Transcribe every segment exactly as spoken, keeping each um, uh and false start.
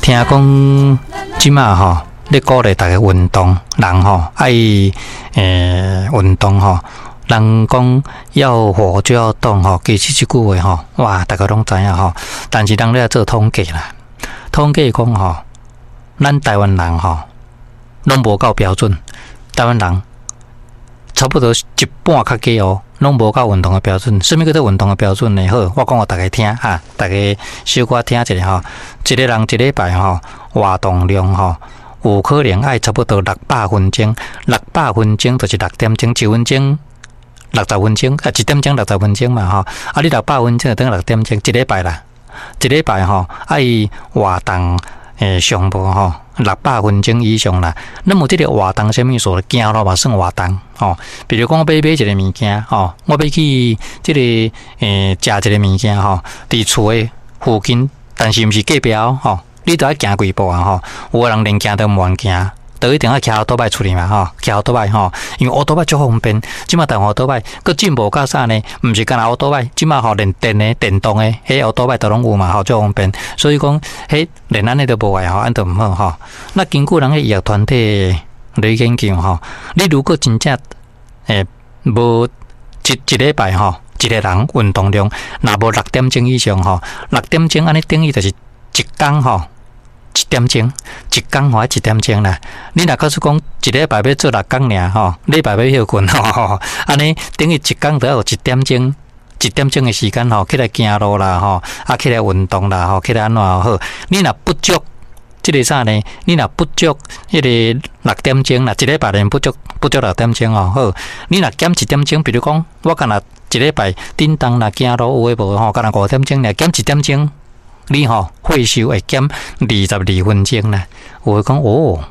聽講這馬吼，咧鼓勵大家運動，人吼愛欸運動吼。人講要活就要動吼，其實這句話吼，哇，大家攏知影吼。但是人咧做統計啦，統計講吼，咱台灣人吼，攏無夠標準。台灣人差不多一半較低哦，攏無夠運動的標準。啥物叫做運動的標準呢？好，我講予大家聽哈，大家小可聽一下吼。一個人一禮拜吼，活動量吼，有可能愛差不多六百分鐘，六百分鐘就是六點鐘，一分鐘六十分鐘，啊，一點鐘六十分鐘嘛吼。啊，你六百分鐘就等於六點鐘，一禮拜啦，一禮拜吼愛活動欸上無吼六百分鐘以上啦。那麼這個活動啥物意思？行路嘛算活動吼。比如講，我欲買一個物件吼，我欲去這個欸食一個物件吼，佇厝的附近，但是毋是隔壁吼，你著愛行幾步啊吼。有的人連行都毋願行，都一定愛騎歐多擺出去嘛吼，騎歐多擺吼，因為歐多擺足方便。這馬台灣歐多擺閣進步到啥呢？毋是干焦歐多擺，這馬吼連電的、電動的，彼歐多擺都攏有嘛吼，足方便。所以講，彼連按呢都無愛吼，按都毋好吼。那根據人的醫學團體來研究吼，你如果真正欸無一一禮拜吼，一個人運動量若無六點鐘以上吼，六點鐘按呢等於就是一工吼。一點鐘，一工吼愛一點鐘啦。你若假使講一禮拜欲做六工爾吼，禮拜欲歇睏吼，按呢等於一工著愛有一點鐘，一點鐘的時間吼，起來行路啦吼，啊起來運動啦吼，起來按怎好？你若不足這個啥呢？你若不足彼個六點鐘啦，一禮拜連不足不足六點鐘哦，好，你若減一點鐘，比如講我干焦一禮拜振動啦，行路有的無吼，干焦五點鐘爾減一點鐘。你吼歲數會減二十二分鐘啦。有的講哦，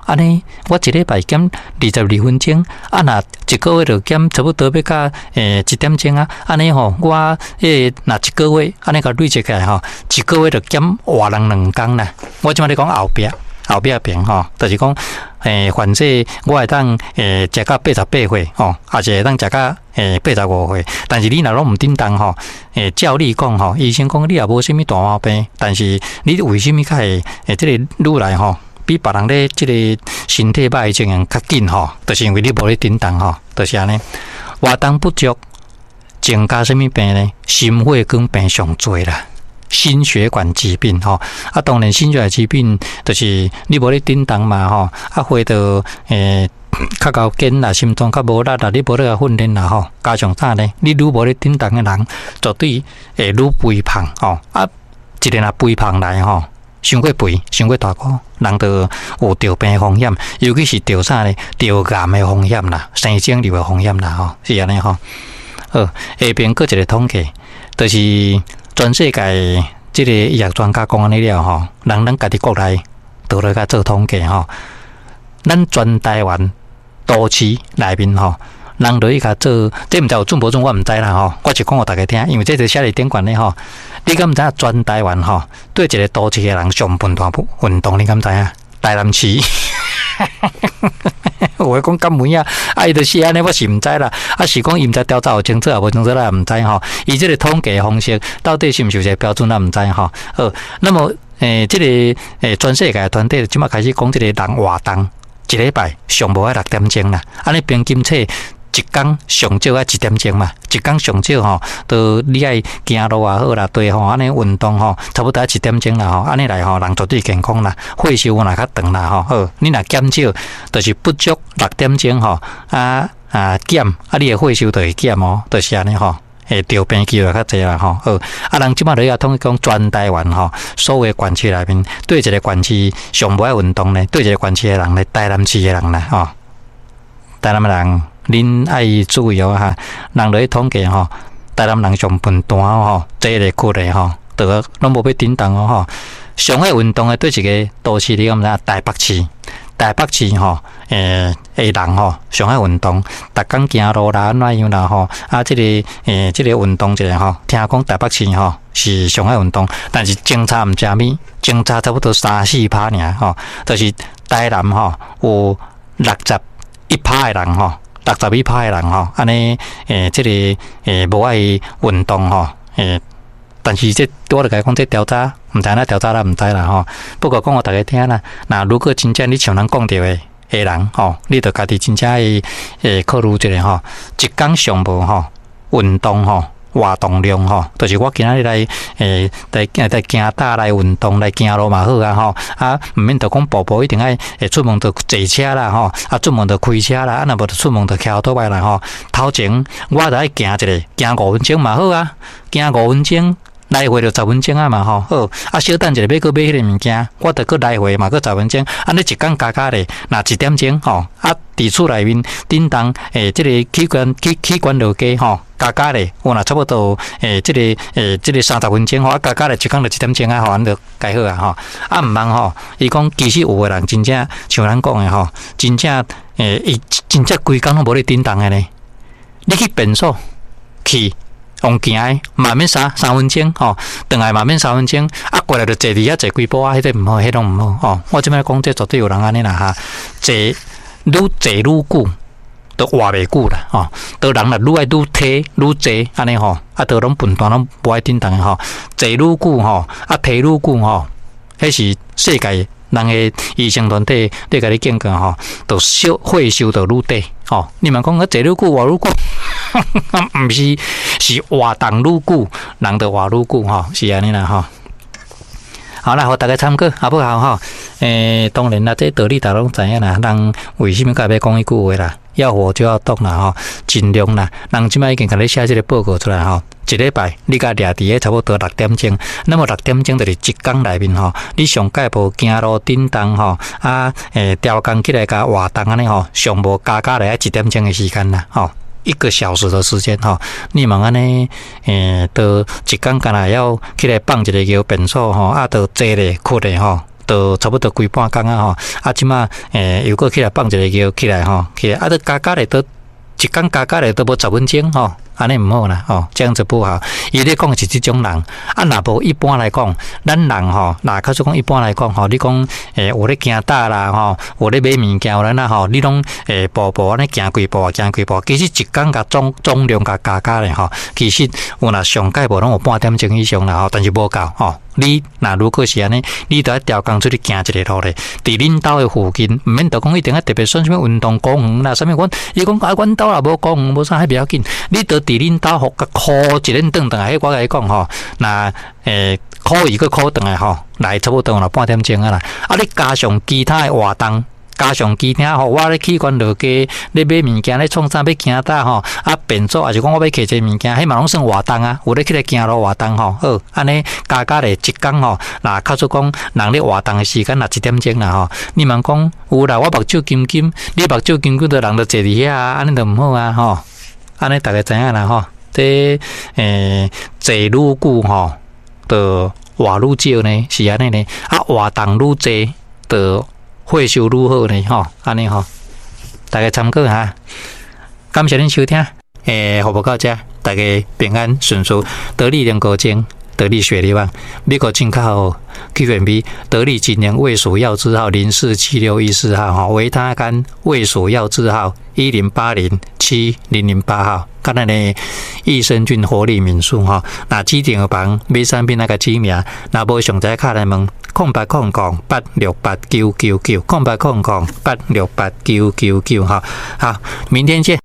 按呢我一禮拜減二十二分鐘，啊若一個月就減差不多欲到欸一點鐘啊。按呢吼，我彼個若一個月按呢共累積起來吼，一個月就減活人兩工啦。我這馬咧講後壁後壁邊吼，就是講欸，反正我會當欸食到八十八歲吼，抑是會當食到欸八十五歲。但是你若攏毋振動吼，欸照理講吼，醫生講你也無啥物大毛病，但是你為啥物較會欸這個愈來吼，比別人咧這個身體歹的情形較緊吼？就是因為你無咧振動吼，就是按呢。活動不足，增加啥物病呢？心血管病上濟啦。心血管疾病吼，啊，當然心血管疾病就是你無咧振動嘛吼，啊，血就欸較厚緊啦，心臟較無力啦，你無咧共訓練啦吼，加上啥呢？你愈無咧振動的人，絕對會愈肥胖吼，啊，一個若肥胖來吼，傷過肥，傷過大箍，人就有著病風險，尤其是著啥呢？著癌的風險啦，生腫瘤的風險啦吼，是按呢吼。好，下邊閣一個統計，就是全世界這個醫學專家講按呢了吼，人咱家己國內倒來共做統計吼，咱全台灣都市內面吼，人落去共做，這毋知有準無準，我毋知啦吼。我就講予大家聽，因為這就寫佇頂懸的吼。你敢毋知影全台灣吼，對一個都市的人上笨蛋運動，你敢知影？台南市。有的講敢有影，啊伊就寫按呢，我是毋知啦。啊是講伊毋知調查有清楚抑無清楚，咱也毋知吼。伊這個統計方式到底是毋是有一個標準，咱毋知吼。好，那麼欸，這個欸，全世界團體這馬開始講這個人活動一禮拜上無愛六點鐘啦，按呢平均說一工上少愛一點鐘嘛，一工上少吼，都你愛行路也好啦，對吼，按呢運動吼，差不多愛一點鐘啦吼，按呢來吼，人絕對健康啦，歲數若較長啦吼。好，你若減少，就是不足六點鐘吼，啊啊減，啊你的歲數就會減哦，就是按呢吼。會著病機會較濟啦吼。好，啊人這馬咧也統計講全台灣吼，所有縣市內面，對一個縣市上無愛運動呢，對一個縣市的人呢，台南市的人啦吼，台南的人。恁愛注意哦哈，人落去統計吼，台南人上笨蛋吼，坐咧困咧吼，都攏無欲振動哦吼。上愛運動的對一個都市，你敢知影？台北市，台北市吼，欸的人吼，上愛運動，逐工行路啦，按怎樣啦吼，啊，這個欸，這個運動一下吼，聽講台北市吼是上愛運動，但是相差毋知物，相差差不多三四趴爾吼，就是台南吼有六十一趴的人吼。六十一趴的人吼，按呢，欸，這個欸無愛運動吼，欸，但是這我就共你講，這調查毋知按怎調查啦，毋知啦吼。不過講予大家聽啦，若如果真正你像人講著的的人吼，你著家己真正會會考慮一下吼，一工上無吼運動吼，活動量吼，就是我今仔日來欸來來行搭來運動來行路嘛好啊吼，啊毋免著講步步一定愛會出門著坐車啦吼，啊出門著開車啦，啊若無著出門著騎歐多拜啦吼。頭前我著愛行一下，行五分鐘嘛好啊，行五分鐘來回就十分鐘啊嘛吼，好啊小等一下欲閣買彼个物件，我著閣來回嘛閣十分鐘，按呢一工加加咧，若一點鐘吼，啊佇厝內面振動欸，這個器官器器官落加吼。加加咧，有若差不多欸，這個欸，這個三十分鐘吼，啊加加咧一工就一點鐘啊，吼，按呢就該好啊吼。啊毋通吼，伊講其實有的人真正像咱講的吼，真正欸，伊真正規工攏無咧振動的呢。你去便所去用行的，嘛免三三分鐘吼，轉來嘛免三分鐘，啊過來就坐佇遐坐幾步啊，彼個毋好，彼攏毋好吼。我這擺講這絕對有人按呢啦哈，坐愈坐愈久，都活袂久啦，吼！都人若愈愛愈提愈坐按呢吼，啊，都攏笨蛋攏無愛振動的吼，坐愈久吼，啊提愈久吼，彼是世界人的醫生團體咧共你警告吼，就燒血燒就愈短吼。你嘛講啊坐愈久活愈久，毋是，是活動愈久，人就活愈久吼，是按呢啦吼。好啦，予大家參考，好不好吼？欸，當然啦，這道理大家攏知影啦。人為啥物佮欲講彼句話啦？要活就要動啦，吼，盡量啦。人這擺已經共你寫這個報告出來吼，一禮拜你共掠佇咧差不多六點鐘，那麼六點鐘就是一工內面吼，你上蓋無行路振動吼，啊，欸，調工起來共活動按呢吼，上無加加來愛一點鐘的時間啦，吼。一個小時的時間吼，你嘛按呢，欸，都一工干焦會起來放一个尿便所吼，啊，都坐咧、睏咧吼，都差不多規半工啊吼，啊，這馬欸又閣起來放一个尿起來吼，起來啊，都加加咧都一工加加咧都無十分鐘吼，按呢毋好啦吼，這樣子不好。伊咧講是這種人，啊，若無一般來講，咱人吼，若假使講一般來講吼，你講欸有咧行搭啦吼，有咧買物件有咧哪吼，你攏欸步步按呢行幾步行幾步，其實一工共總總量共加加咧吼，其實有若上蓋無攏有半點鐘以上啦吼，但是無夠吼。你若如果是按呢，你著愛調工出去行一个路咧，佇恁兜的附近，毋免著講一定愛特別選啥物運動公園啦，啥物阮伊講啊，阮兜也無公園，無啥彼袂要緊，你著佇恁兜予共箍一輪轉轉來，彼我共你講吼，若欸箍伊閣箍轉來吼，來差不多有半點鐘啊啦，啊你加上其他的活動。加上其他吼，我咧器官落加咧買物件咧創啥欲行搭吼，啊便所抑是講我欲揢一个物件，彼嘛攏算活動啊，有咧起來行路活動吼，好，按呢加加咧一工吼，若假使講人咧活動的時間若一點鐘啦吼，你嘛講有啦，我目睭金金，你目睭金金，就人就坐佇遐啊，按呢就毋好啊吼，按呢大家知影啦吼，這欸坐愈久吼，就活愈少呢，是按呢呢，啊活動愈濟，就血修愈好呢，吼，按呢吼，大家參考下。感謝恁收聽，欸，服務到遮，大家平安順遂，得力連高精，得力雪梨網，美國進口 Q and B，得力錦聯衛署藥字號零四七六一四號，吼，維他肝衛署藥字號一零八零七零零八號，佮咱的益生菌活力敏素吼，若指定房買產品那個指名，若無上載敲來問。空八空空八六八九九九，空八空空八六八九九九，哈，好，明天見。